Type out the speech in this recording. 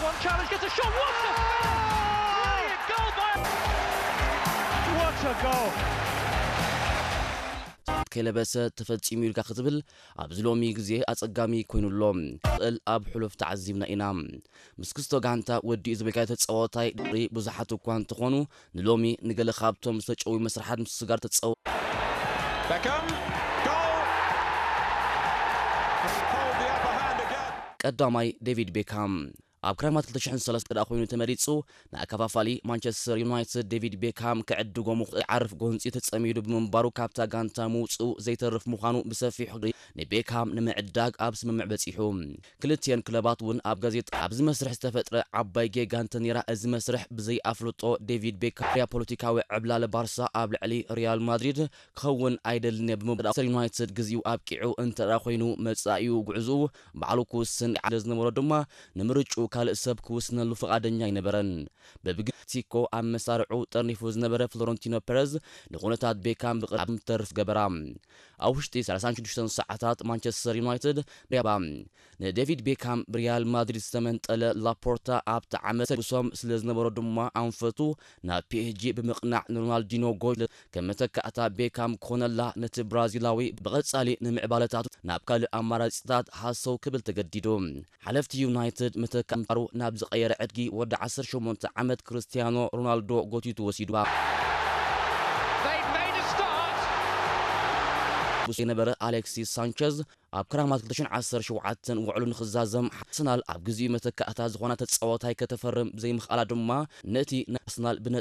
One challenge, gets a shot. What a finish! Brilliant goal by. What a goal! ከይለበሰ ተፈጺሙ ኢልካ ክትብል ኣብዚ ሎሚ ግዜ ኣጸጋሚ ኮይኑ ኣሎ። ክእል ኣብ ሕሉፍ ተዓዚብና ኢና። ምስ ክስቶ ጋንታ ወዲኡ ዝበልካዮ ተጻዋታይ ድሪ ብዙሓት እኳ እንተኾኑ ንሎሚ ንገለ ካብቶም ዝተጨዊ መስርሓት ምስጋር ተጸዋ Beckham, goal! Hold the upper hand again. ቀዳማይ ዴቪድ ቤካም ኣብ ክረማት ክልተ ሽሕን ሰለስተ ደኣ ኮይኑ ተመሪጹ። ንኣከፋፋሊ ማንቸስተር ዩናይትድ ዴቪድ ቤካም ክዕድጎ ምኽእል ዓርፍ ጎንጺ ተጸሚዱ ብምንባሩ ካብታ ጋንታ ምውጽኡ ዘይተርፍ ምዃኑ ብሰፊሑ ንቤካም ንምዕዳግ ኣብ ስምምዕ በጺሑ። ክልቲኤን ክለባት እውን ኣብ ጋዜጣ ኣብዚ መስርሕ ዝተፈጥረ ዓባይ ጌጋ እንተነይራ እዚ መስርሕ ብዘይ ኣፍልጦ ዴቪድ ቤካም ያ ፖለቲካዊ ዕብላለ ባርሳ ኣብ ልዕሊ ሪያል ማድሪድ ክኸውን ኣይደልን እየ ብምባል ማንቸስተር ዩናይትድ ግዜኡ ኣብቂዑ እንተ ደኣ ኮይኑ መጻኢኡ ጉዕዝኡ ባዕሉ ክውስን ዝነበሮ ድማ ንምርጭኡ ካልእ ሰብ ክውስነሉ ፍቓደኛ ኣይነበረን። በብግዜኡ ኣብ መሳርዑ ጠርኒፉ ዝነበረ ፍሎረንቲኖ ፐረዝ ንኹነታት ቤካም ብቕርብ ተርፍ ገበራ። ኣብ ውሽጢ ሰላሳን ሽዱሽተን ሰዓታት ማንቸስተር ዩናይትድ ሪያባ ንዴቪድ ቤካም ብሪያል ማድሪድ ዝተመንጠለ ላፖርታ ኣብቲ ዓመት ጉሶም ስለ ዝነበሮ ድማ ኣንፈቱ ናብ ፒኤስጂ ብምቕናዕ ንሮናልዲኖ ጎጅ ከም መተካእታ ቤካም ኮነላ ነቲ ብራዚላዊ ብቐጻሊ ንምዕባለታቱ ናብ ካልእ ኣማራጺታት ሃሰው ክብል ተገዲዱ። ሓለፍቲ ዩናይትድ መተካ ምንባሩ ናብ ዝቐየረ ዕድጊ ወዲ ዓሰርተ ሸሞንተ ዓመት ክርስቲያኖ ሮናልዶ ጎቲቱ ወሲዱዋ። They've made a start. ብሱ የነበረ ኣሌክሲስ ሳንቸዝ ኣብ ክራማት ክልተ ሽሕን ዓሰርተ ሸውዓተን ውዕሉ ንኽዛዘም ኣርሰናል ኣብ ግዜኡ መተካእታ ዝኾና ተጻዋታይ ከተፈርም ዘይምኽኣላ ድማ ነቲ ናይ ኣርሰናል ብነ